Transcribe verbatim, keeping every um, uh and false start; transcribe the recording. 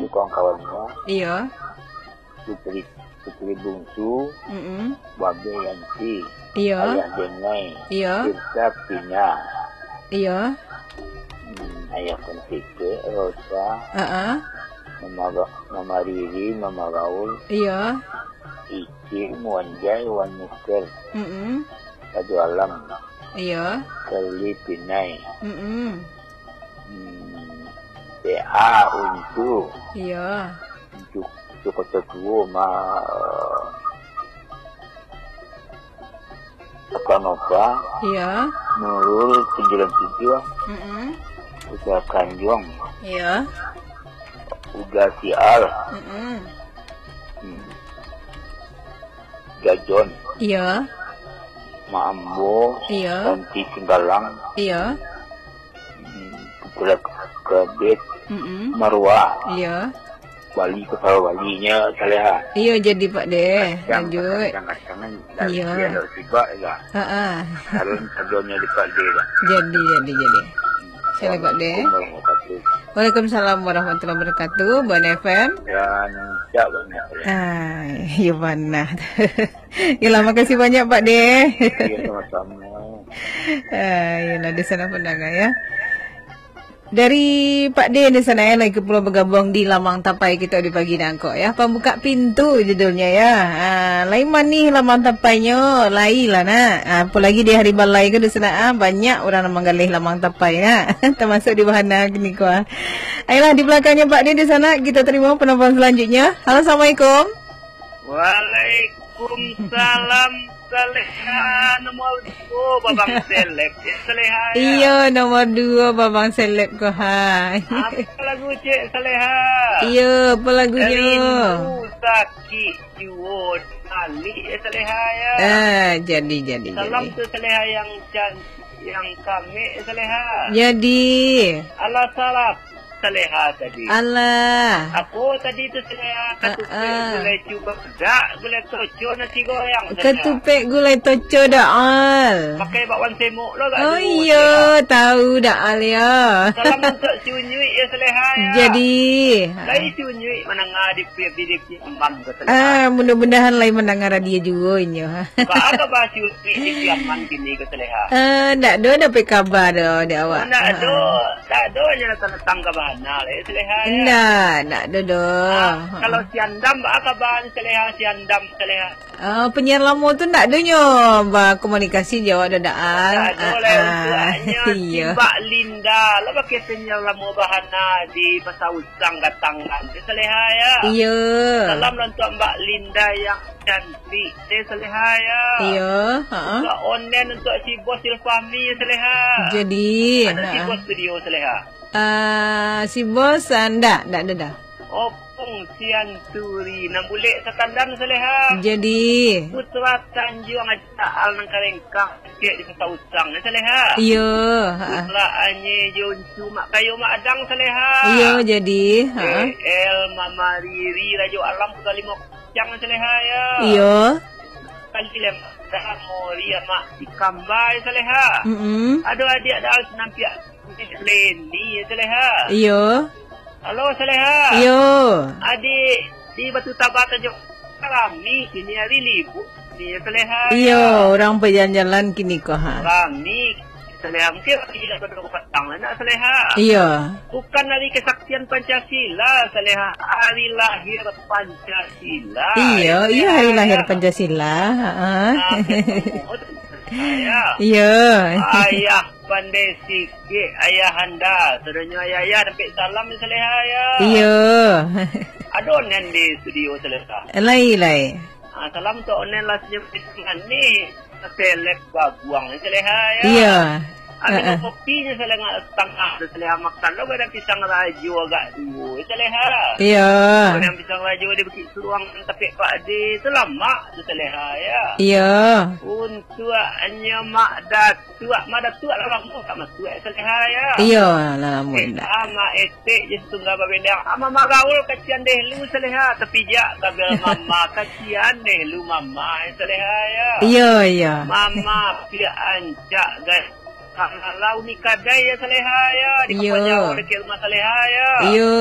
Kawan-kawannyo, Iyo. Putri, Putri Bungsu, Mm-mm. Babe Yanti, Iyo. Ayah Denai, Iyo. Tirta Pina. Iyo. Hmm, Ayah Kentike, Rosa, Heeh. Mama Ga-, Mama Riri, Mama Gaul, Iyo. Icil, Muanjai, Wan Mister, Mm-mm. Rajo Alam, Iyo. Kali Pinai. Mm-mm. Hmm, P A Untu. Iyo. Untu, Untu Koto Tuo, ma, Apa Nova. Iyo. Nurul sembilan tujuh. Mm-mm. Uda Kanjuang. Iyo. Uda Sial. Mm-mm. Hmm. Gajon. Iyo. Mak Ambo. Iyo. Santi Singgalang. Iyo. Hmm, Putra Kabet, Mm-mm. Marwah. Iyo. Wali, kepala walinyo Saleha. Iyo, jadi, Pak De. Kadang, Lanjut. Kadang-kadang kan dari Iyo. Dia ada sibak juga. Ha-ha. Harun sebelumnya di Pak De lah. Jadi, jadi, jadi. Salam, Pak De. Assalamualaikum warahmatullahi wabarakatuh. Waalaikumsalam warahmatullahi wabarakatuh. Bon F M. Dan siap banyak. Ah, iyo bana. Yolah, makasih banyak, Pak De. Iyo, sama-sama. Ah, yolah, di sana pendengar, ya. Dari Pak De di sana, ya, lagi pulo bergabung di Lamang Tapai kita di pagi nangko, ya. Pembuka pintu judulnya, ya. Ah, lai manih Lamang Tapainyo, lai lah, nak. Ah, apalagi di hari balai ko di sana, ah, banyak urang nan manggaleh Lamang Tapai, nak. Termasuk di Bahana kini ko, ah. Ayolah, di belakangnya Pak De di sana, kita terima penelpon selanjutnya. Halo, assalamualaikum. Waalaikumsalam, Saleha nomor duo, Babang Seleb, Cik Saleha, ya. Iyo, nomor duo, Babang Seleb ko, ha. Apa lagu, Cik Saleha? Iyo, apa lagunyo? Rindu sakik juo balik, ya, Saleha, ya. Ah, jadi, jadi, Salam jadi. Tu Saleha yang can-, yang kamek, Saleha. Jadi. Alah, salah. Saleha tadi. Alah. Apo tadi tu, Saleha? Ah, Katupek ah. Gulai cuba pedak, gulai toco nasi goreng, Saleha. Katupek gulai toco, Daal. Pakai bakwan semok lo agak Oh, dulu, iyo, Saleha. Tahu, Daal, ya. Salam untuk si Unyuik, ya, Saleha, ya. Jadi. Lai si Unyuik manangah di P P D P Amban ko, Saleha. Ah, mudah-mudahan lai manangah radio juo inyo, ha. Baa kaba si Unyuik di Piaman kini ko, Saleha? Ah, ndak do dapek kaba do di awak. Oh, ndak do. Ah. Ndak do nyo datang-datang ka Bahana lai, Saleha, ya? Ndak, ndak do do. Ah, kalau si Andam, baa kaba ni, Saleha, si Andam, Saleha? Ah, penyiar lamo tu ndak do nyo bakomunikasi jo awak do, Daal. Ndak do lai, ah, untuak ah. Nyo Iyo. Si Mbak Linda, lah pakai penyiar lamo Bahana di Pasar Usang Gatangan, Saleha, ya. Iyo. Salam lah untuak Mbak Linda yang cantik, Saleha, ya. Iyo, ha. Untuak onen untuak si Bos Ilfahmi, Saleha. Jadi, Ado si ha. Bos studio, Saleha. Ah, si Bos, ah, ndak, ndak ado dah. Opung Sianturi, nan bulek satandan, Saleha. Jadi. Putra Tanjuang Aji Taal nan karengkang, sikek di Pasar Usang, Saleha. Iyo, ha. Putra Anye Joncu Mak Kayo Mak Adang, Saleha. Iyo, jadi, ha. L Mama Riri Rajo Alam Putra Limo Kacang, Saleha, ya. Iyo. Kali lem, dah Mori Amak Ikambai, Saleha. Mm-mm. Ado adiak dah sinampiak Leni, Saleha. Iyo. Halo, Saleha. Iyo. Adik di Batu Taba Tanjung rami kini hari libur ni, Saleha. Iyo, urang bajalan-jalan kini ko, ha. Rami, Saleha. Mungkin hari dah pada patang lah nak, Saleha. Iyo. Bukan hari kesaktian Pancasila, Saleha. Hari lahir Pancasila. Iyo, iyo, hari lahir Pancasila. Ha. Ah, betul. Saleha. Iyo. Ayah pandai sikik, Ayahanda. Sadonyo ayah-ayah, dapek salam, Saleha, ya. Iyo. Ado onen di studio, Saleha. Lai, lai. Ah, salam tu onen lah senyum manis. Seleb babuang, Saleha, ya. Iyo. Ambil Ha-ha. Kopinyo, Saleha, tangah tu, Saleha, makan lo, ada pisang rajo agak duo, Saleha. Iyo. Kalau yang pisang rajo di Bukit Suruang, tapi Pak Ade, tu lamak tu, Saleha, ya. Iyo. Untuaknyo Mak Datuak, Mak Datuak lah lamo tak masuak, Saleha, ya. Iyo, lah lamo Eh, indak. Ama Etek je setunggal babedang. Ama Mak Gaul kacian deh lu, Saleha. Tapi jak kabel mama, kacian deh lu mama, Saleha, ya. Iyo, iyo. Mama piak ancak, guys. Kang Lalau ni kadai, ya, Saleha, ya. Di Iyo. Kampung Jawa, dekat rumah Saleha, ya. Iyo.